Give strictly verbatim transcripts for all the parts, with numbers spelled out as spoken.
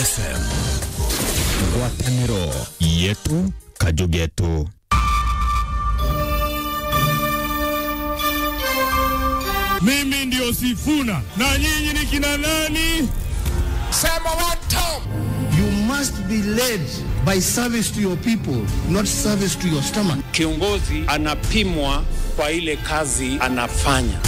F M. Ngwataniro yetu, kaju getu. Mimi ndio Sifuna. Na nyinyi ni kina nani? Sema one time. You must be led by service to your people, not service to your stomach. Kiongozi anapimwa kwa ile kazi anafanya.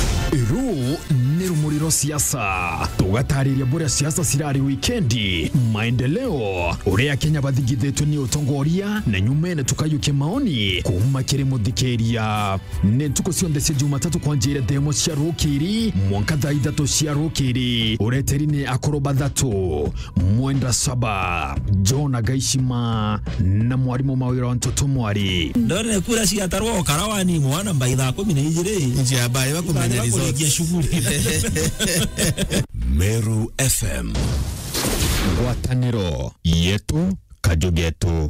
Ruu ni rumuri rwa siasa. Tugatariria buria siasa cirari wikendi, maendeleo, uria Akenya bathingithitue ni utongoria, na nyumene tukayukia maoni kuuma kiri muthikiria. Ni ntuku cionthe cia Jumatatu kwanjia thaa imwe cia rukiri mwanka thaa ithatu cia rukiri. Ureteri ni akuru bathatu, Mwenda Saba, John Agaishima na mwarimu Mawira wa Ntoto Mwari. Ndone kura ciatarwo o Karawani mwana mbai thaa kumi na ijiri. Njia mbai bakumenya result. Shughuli. Meru F M. Ngwataniro yetu, kaju getu.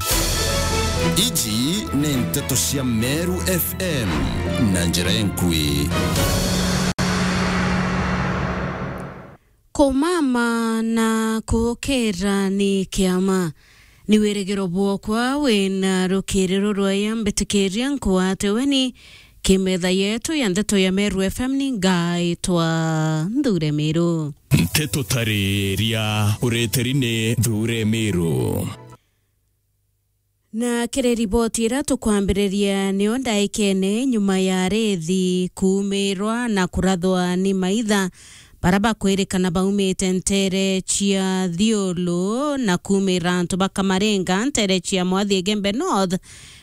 Iji ni nteto cia Meru F M na njira enkui. Kumama na kuukira ni kiama. Ni wirigiro bwokwa wina rukiri rurwaya, mbitikiria nkwate weni kimetha yetu ya ndeto ya Meru F M. Ni ngaitwa Nthure Miru. Nteto tariria ureteri ni Nthure Miru. Na kiri riboti iria tukwambiriria, nio ndaikene nyuma ya arithi kuumirwa na kurathwa ni maitha, baria bakwirikana baumite ntere cia Thiulu na kuumira antu ba Kamaringa, ntere cia Mwathi Igembe North,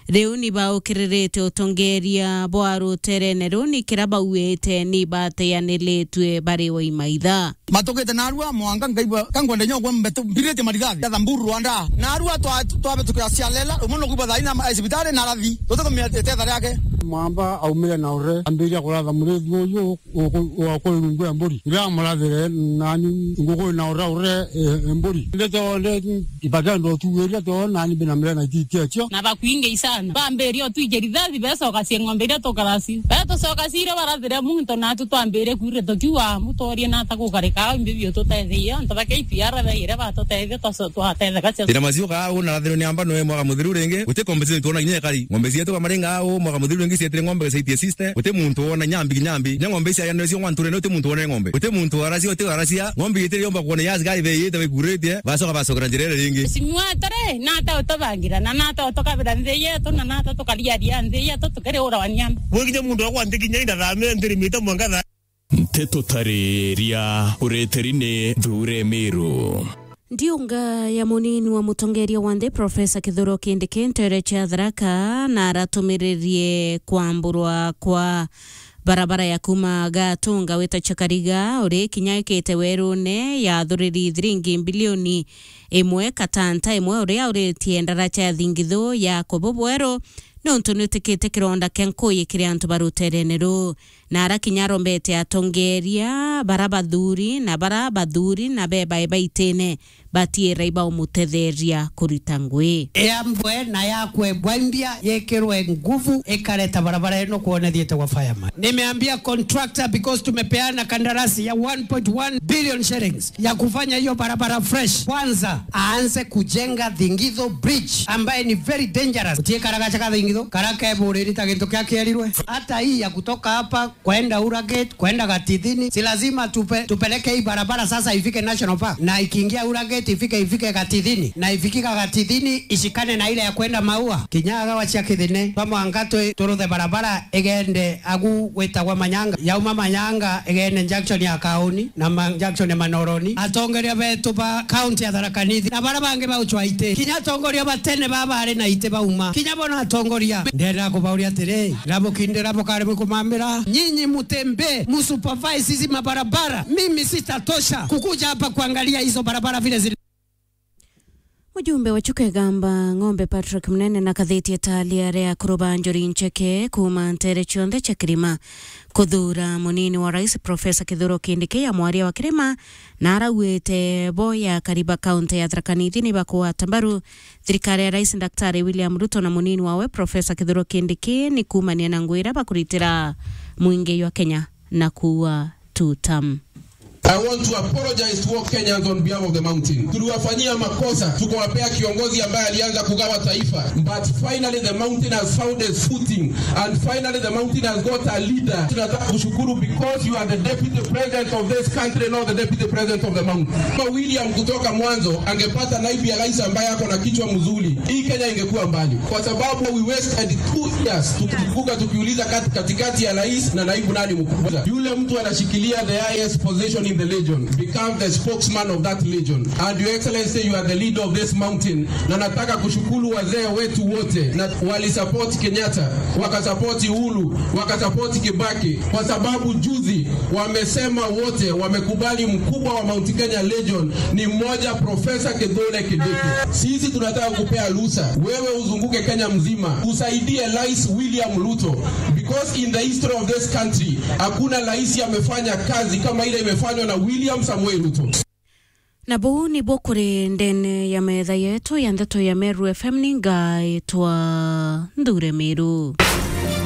riu ni baukiririte utongeria bwa ruterene ruu, ni kiria bauite ni bateaniritue bari o imaitha. Matukite narua mwanka nkaigua ka ngwenda inya ugwe mbetu mbirite marigari ya Thamburu Rwanda. Narua twa-, twabitukira Sialela, umwe nukuigua thaina ma-, cibitari na arathi. Tutikumenya itetha riake. Mwamba aumire na ure, ambiria kuratha murithi uyu, uku-, wa kuri rungu ya mburi. Riria amurathire nani, nguku na ure ure, e, e, mburi. Ndete onde, ibagendo tuwiria to nani bina mire na ititia cio. Na bakwingi sana. Bambiria utwije rithathi, becoka cia ng'ombe iria tukaraci. Betucoka cire barathire muntu, natu twambire kwire tukiuga, "Mutorie nata gukarika, imbi biu tutetheie." Antu ba K P R baire batutethia, twaco-, twatetheka cia. Ira macio kaa una rathirwo ni amba noe mwaka muthiru ringi, guti compensation tuona kinya ekari. Ng'ombe cietu Kamaringa au, mwaka muthiru ringi cietire ng'ombe gacaitie sister. Guti muntu wona nyambi kinyambi. Nya ng'ombe ici ayanire cio ng'wanture, guti muntu wonere ng'ombe. Guti muntu waracia, guti waracia. Ng'ombe itire yomba kuona ya askari beyite baikuritie, bacoka bacokera njira ire ringi. Mheshimiwa atare, nata utubangira, na nata utukabira nthi yetu, na nata tukariaria nthi yetu, tukiri ura wa nyamba. Gwe kinya muntu akwa nthi kinya inda thaa me nthi rimite mwanka thaa. Nteto tariria ureteri ni Nthure Miru. Ndiunga ya munini wa mutongeria wa nthi, Professor Kithure Kindiki, ntere cia Tharaka, na aratumiririe kwamburwa kwa barabara ya kuuma Gatunga wita Chakariga, uri kinya ikite werune ya thuriri thiringi mbilioni imwe katanta imwe, uria uritie ndaraca ya thingithu ya kubu bweru, nontu niutikite kironda kia nkui kiri antu ba ruterene ruu. Na ara kinya arombete atongeria bara bathuri na bara bathuri na bebae baitine batiira ibaumutetheria kurita ngui. Yambwe na yakwe bwaimbia yekirwe nguvu ikareta barabara ino kuonethiete kwa fireman. Nimeambia contractor because tumepeana kandarasi ya one point one billion shillings ya kufanya hiyo barabara fresh. Kwanza aanze kujenga Thingitho Bridge ambaye ni very dangerous. Utie kara gacha ka Thingitho, kara keburiri ta gintu kia kierirwe. Hata hii ya kutoka hapa kwenda Ura Gate, kwenda Gatithini, si lazima tupe-, tupeleke hii barabara sasa ifike National Park, na ikiingia Ura Gate ifike, ifike Gatithini, na ifikika Gatithini ishikane na ile ya kwenda Maua. Kinya agawa cia Kithine, twa mwanga twi-, turuthe barabara igende agu gwitagwa Manyanga, yauma Manyanga igende junction ya Kauni na ma-, junction ya Manoroni. Atongeria betu ba county ya Tharaka Nithi na bara bangi bauchwa iti, kinya atongoria ba tene baba bari na iti bauma, kinya bona atongoria. Ndenda kubauria atiri, Rabukindira bukari bukumambira. Nyinyi mutembee, musupervise hizi mabarabara. Mimi sitatosha kukuja hapa kuangalia hizo barabara vile zili. Mujumbe wa Chuka Igamba Ng'ombe Patrick Munene na kathiti etalia ria kuruba njuri ncheke kuuma ntere cionthe cia kirima kuthuura munini wa rais Professor Kithure Kindiki ya mwaria wa kirima, na arauite bo ya kariba kaunti ya Tharaka Nithi ni bakugwata mbaru thirikari ya Rais Daktari William Ruto na munini wawe Professor Kithure Kindiki ni kuumania na ngugi iria bakuritira mwingi jwa Kenya na kuua two term. I want to apologize to all Kenyans on behalf of the mountain. Tuliwafanyia makosa, tukawapea kiongozi ambaye alianza kugawa taifa. But finally the mountain has found its footing. And finally the mountain has got a leader. Tunataka kushukuru because you are the deputy president of this country, not the deputy president of the mountain. Kama William kutoka mwanzo angepata naibu ya rais ambaye ako na kichwa mzuri, hii Kenya ingekuwa mbali. Kwa sababu we wasted two years tukivuka tukiuliza kat-, katikati ya rais na naibu nani mkubwa. Yule mtu anashikilia the highest position in the legion become the spokesman of that legion. And Your Excellency, you are the leader of this mountain. Na nataka kushukuru wazee wetu wote na walisupport Kenyatta, wakasupport Uhuru, wakasupport Kibaki, kwa sababu juzi wamesema wote wamekubali mkubwa wa Mount Kenya Legion ni mmoja, Professor Kithure Kindiki. Sisi tunataka kupea ruhusa wewe uzunguke Kenya mzima usaidie Rais William Ruto, because in the history of this country hakuna rais amefanya kazi kama ile imefanywa na William Samoei Ruto. Na buu nibuo kuri ndene ya metha yetu ya ndeto ya Meru F M, ni ngaitwa Nthure Miru.